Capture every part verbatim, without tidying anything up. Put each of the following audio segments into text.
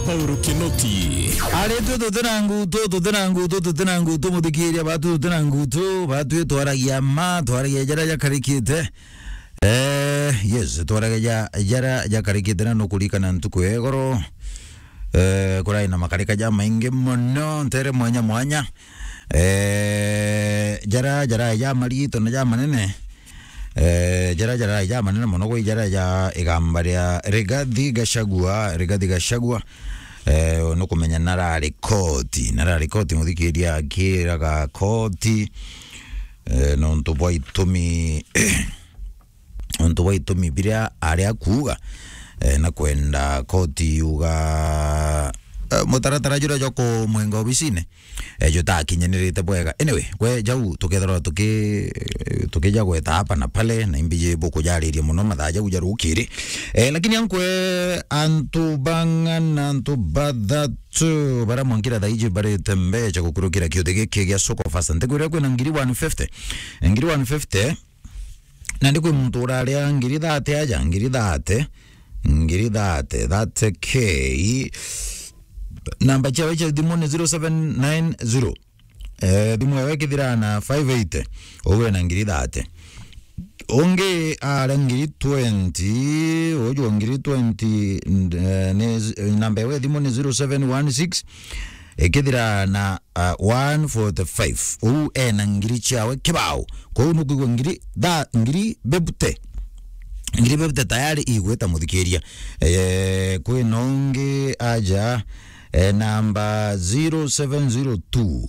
Paul Kinoti. Ari tu tuti na ngutu, tuti na ngutu, tuti na ngutu, muthikiria batu, tuti na ngutu, batu twaragia ma, twaragia jara jakarikite. Eh, yes, twaragia ja-, jara jakarikite na nukurikana ntuku ya igoro. Eh, kurai na makarika ja maingi muno, ntere mwanya mwanya. Eh, jara, jara ja marito na ja manene. Eh, jara, jara ja manene muno gwi jara ja igamba ria Rigathi Gachagua, Rigathi Gachagua. Eh, nukumenya narari koti, narari koti muthikiria akiraga koti. Eh, nontu bwa itumi, nontu bwa itumi biria ari akuuga, eh, na kwenda koti yuga, eh, mutaratara juria jwa kumwenga obisine, eh, jutakinyanirite bwega. Anyway, kwe jau tukethirwa tuki-, tukija gweta hapa na pale, na imbiji bukujariria muno mathaa jau ja rukiri. Eh, lakini ankwe antu bang'ana, antu bathatu bara mwankira thaiji barite mbecha gukurukira kiuthi giki gia Soko Fasta. Ntikwira kwina ngiri one fifty. Ngiri one fifty, na ndi kwi muntu uraria ngiri thate aja, ngiri thate, ngiri thate, thate K. Namba ciawe cia thimu ni zero seven nine zero. Eh, thimu yawe ikithira na five eighty, uwe na ngiri thate. Ungi ara ngiri twenty, uju wa ngiri twenty, nd-, eh, ni z-, namba yawe ya thimu ni zero seven one six, ikithira na, ah, one forty-five. Uu ena ngiri ciawe kibao. Kwou nukwigua ngiri tha-, ngiri bebute. Ngiri bebute tayari igwita muthikiria. Eh, kwina ungi aja, eh, namba zero seven zero two.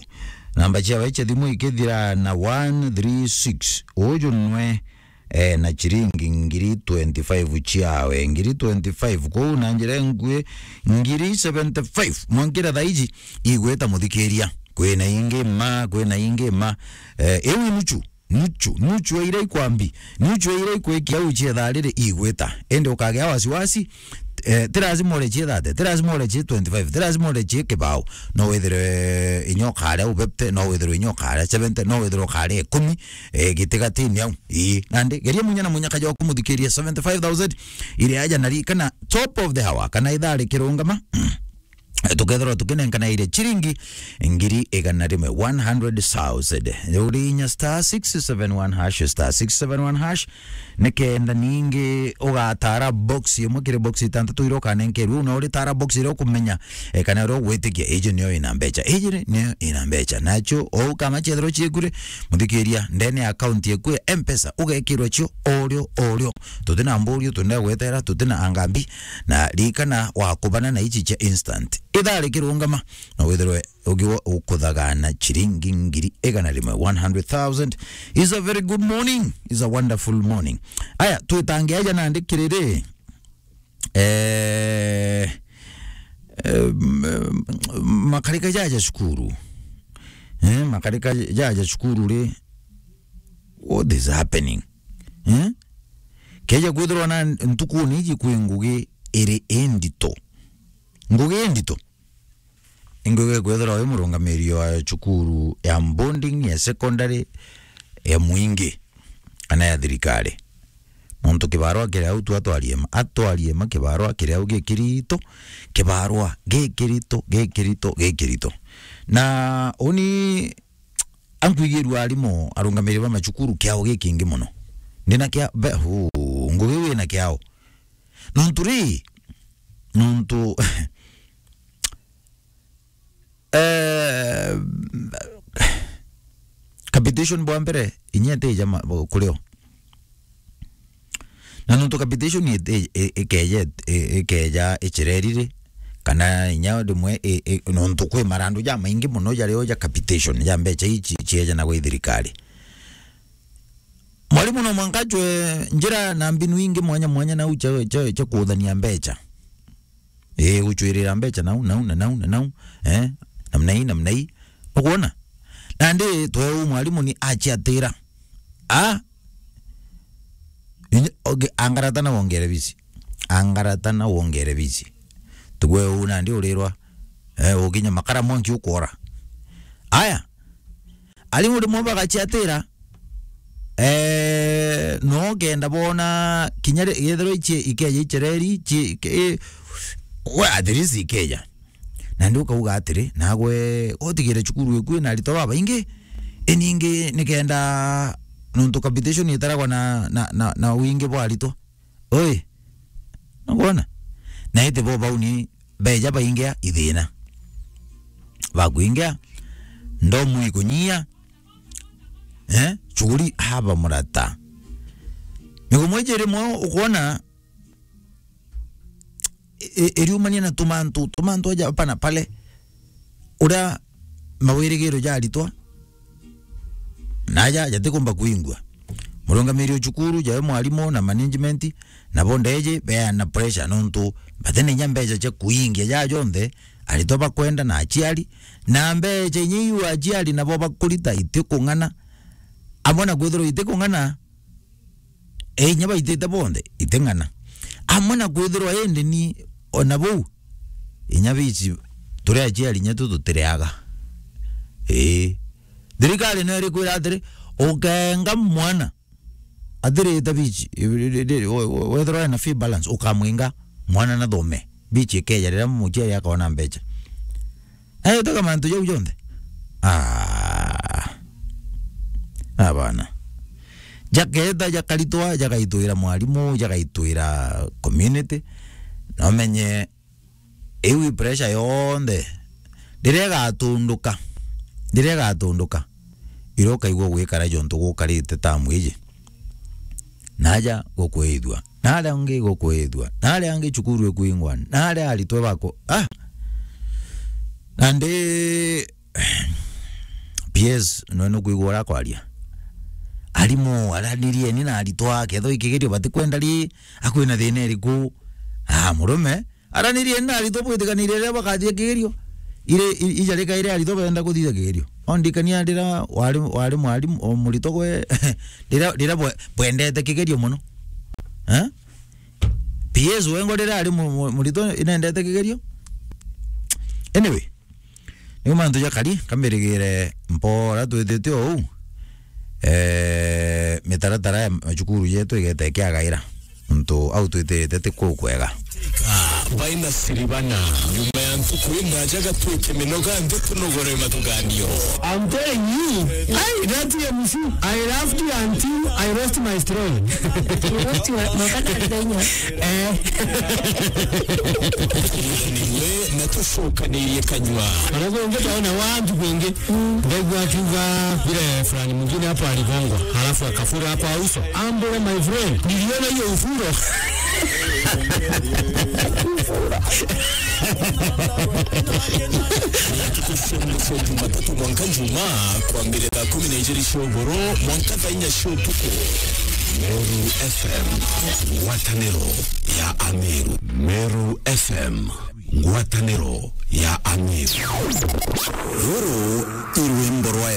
Namba ciawe cia thimu ikithira na one three six. Uju nwe, eh, na chiringi ngiri twenty-five ciawe. Ngiri twenty-five. Kwou na njira inkui, ngiri seventy-five. Mwankira thaiji, igwita muthikiria. Kwina ingi ma, kwina ingi ma. Eh, iu nuchu. Nuchu, nuchu ya iria ikwambi, nuchu ya iria ikwikia au cia thaa riri igwita. Indi ukagia wasiwasi, eh, ti lazima ore cia thate, ti lazima ore cia twenty-five, ti lazima ore cia kibao. No withirwe inya ukare u fifty, no withirwe inya ukare seventy, no withirwe ukare ikumi, eh, gitigatini au. Ii, nandi, geria munya na munya kaja kumuthikiria seventy-five thousand, iria aja na ri-, kana top of the hour, kana ithaa rikirungama. Tukethirwa tukinenkana iria chiringi ngiri igana rimwe, one hundred thousand. Uri inya star six seven one hash, star six seven one hash, nikenda ningi ugatara box imwe kiri box itantatu iria ukanenkerwa, na uritara box iria ukumenya, eh, kana uria ugwitikia, iji niyo ina mbecha, iji niyo ina mbecha. Nacho, o ukama ciethirwa ciekure, muthikiria, ndene ya account yeku ya M-Pesa, ugekirwa cio orio, orio. Tutina mburio, tutina gwetera, tutina angambi, na ririkana wakubana na ici cia instant. Ithaa rikirungama, na withirwe ugiwa ukuthagana chiringi ngiri igana rimwe, one hundred thousand. Is a very good morning, is a wonderful morning. Aya, twitange aja nandi kiriri, eh, eh, m-, makarika jaja cukuru. Eh, makarika jaja cukuru ri, what is happening? Eh? Keja kwithirwa na ntukuni iji kwi ngugi iri indito. Ngugi indito. Ingugi kwithirwa wi murungamiri wa cukuru ya boarding, ya secondary, ya mwingi, kana ya thirikari. Nontu kibarua kiri au tu atwarie ma, atwarie ma kibarua kiri au gikirito, kibarua gikirito, gikirito, gikirito. Na uni ankwigirua arimu, arungamiri ba macukuru kiao gikingi muno. Ndina kia, be, hu, ngugi wina kiao. Nontu ri, nontu, eh, capitation bwa mbere, inya itija ma-, kurio. Na nontu capitation i-, i-, i-, ikeja, i-, ikeja ichireri ri, kana inya rimwe i-, i-, nontu kwi marandu jamaingi muno jario ja capitation, ja mbecha ici ciejanagwa i thirikari. Mwarimu no mwanka acwe njira na mbinu ingi mwanya mwanya nau cia, cia, cia kuuthania mbecha. Ii, guchwirira mbecha nau, nau, na nau, na nau, eh, namna ii, namna ii. Nukwona? Nandi tweu mwarimu ni achiatira. Ah? Inye, oge-, angarata na wongere bici. Angarata na wongere bici. Tigwe u nandi urirwa, eh, ukinya makara mwanki ukwora. Aya. Arimu rimwe bagachiatira, eh, no kenda bona kinya ri-, yethirwa ichi-, ikeja ichireri, chi-, ke-, we at least ikeeja. Na ndi ukauga atiri, nagwe utigire cukuru iku ina aritwa babaingi, iningi nikenda nontu competition itaragwa na, na, na, na wingi bwa aritwa. Oi, nukwona? Na iti bo bau ni beja baingia ithina. Bakwingia, ndomu ikunyia, eh? Chuguri haba murata. Migomo iji rimwe ukwona i-, i-, iriumania na tumantu, tumantu aja hapa na pale. Uria mawirigiro ja aritwa naja jatikumba kuingua. Murungamiri o cukuru, jawe mwarimu na management, nabo ndeji beana pressure nontu batena inya mbeca cia kuingia ja jonthe aritwa bakwenda na aciari, na mbeca inya iu aciari nabo bakurita itikung'ana. Amwe na kwithirwa itikung'ana, inya baitite bonthe, iting'ana. Amwe na kwithirwa indi ni ona bau, inya bici turi aciari inya tu tutireaga. Ii. Thirikari no irikwira atiri, ukenga mwana athirite bici, wethirwa ena fee balance, ukamwinga mwana nathome. Bici ikeja riria muciari akona mbeca. Ayo tega mantu jau jonthe. Ah. Abana. Jaketa jakaritwa, jagaitwira mwarimu, jagaitwira community. Na umenye iu i pressure yonthe. Riria igatunduka. Riria igatunduka. Iria ukaigua gwikara jontu gukarite tamu iji. Naja gukwithua. Naria angi gukwithua. Naria angi cukuru ikwingwa. Naria aritwe bako. Ah! Nandi P S, nwe nukwigua uria akwaria. Arimu, aranirieni na aritwa, kethwa ikigerio batikwenda ri, akwina thina iriku? Ah, murume, aranirieni na aritwa bwitikanire riria bakathia kigerio. Ire, i-, ija rikaire aritwa benda kuthithia kigerio. Ondikania riria wari, wari mwarimu, o muritwa gwe, riria, riria bwe-, bwendete kigerio muno. Eh? P S wengo riria ari mu-, mu-, muritwa inendete kigerio. Anyway, niu mantu jakari, kamirigire mpora twithite o uu. Eh, mitaratara ya macukuru jetu igeta ikiagaira. Ntu au twitirite ti kuu kwega. Baina siribana. Nyuma ya ntuku indaja gatwike minoga nthi tunogore mathuganio. I'm telling you, I, that M C, I laughed until I lost my throne. You lost your, my father. Eh. Niwe na tucokanirie kanyua. Arabu ungi taona wantu kwingi. Ndaigua akiuga vile fulani mwingine hapo aligongwa, halafu akafura kwa uso. Ambule, my friend, niliona hiyo ufuro. Tukushembe cia Jumatatu mwanka Jumaa, kwambire thaa kumi na ijiri cia ugoro mwanka thaa inya cia utuku. Meru F M, ngwataniro ya Ameru. Meru F M, ngwataniro ya Ameru. Ruru i rwimbo rwa